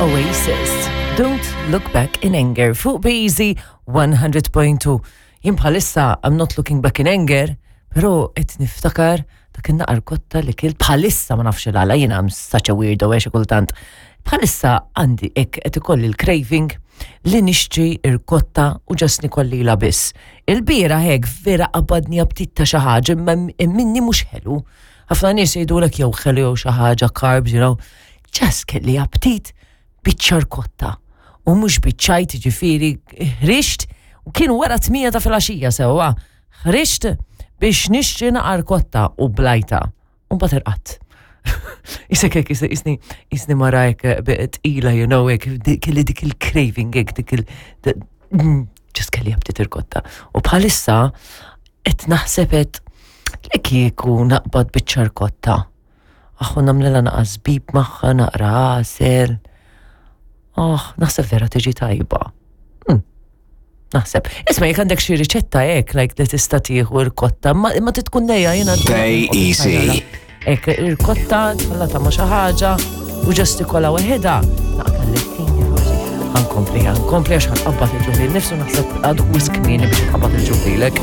Oasis, Don't Look Back in Anger, fuq Beezy 100.2. Jien bħalissa I'm not looking back in anger, pero qed niftakar dak in-naqar kotta li kilt bħalissa ma nafx il-għala jiena I'm such a weirdo għax kultant. Bħalissa għandi hekk qed ikolli l-craving li nixtri irkotta u ġast nikolli la biss. Il-bira hekk vera qabadni aptit ta' xi ħaġa imma minni mhux ħelu. Ħafna nies jgħidulek jew ħelu jew xi ħaġa carbs, you know. Ġast kelli aptit biċċa rkotta. U mhux biċċajt ġifieri ħriġt u kienu wara 8 ta' filgħaxija sewwa. Ħriġt biex nixtri naqar kotta u blajta. U mbagħad irqadt. Isek hekk isni isni mara hekk tqila, you know, hekk kelli dik il-craving hekk dik il ġast kelli aptit irkotta. U bħalissa qed naħseb qed li kieku naqbad biċċa rkotta. Aħu nagħmlilha naqa' żbib magħha, naqra għasel. Oh, naħseb vera tiġi tajba. Naħseb. Isma' jekk għandek xi riċetta hekk, like li tista' tieħu rkotta, ma imma tkun lejja jiena. Stay easy. Hekk irkotta tħallata ma' xi ħaġa u ġast ikolla waħedha. Naqta' lettini forsi. Ħankompli, ħankompli għax ħanqabbad il-ġuħli. Nifsu naħseb għadu wisq kmieni biex nqabbad il-ġuħlilek.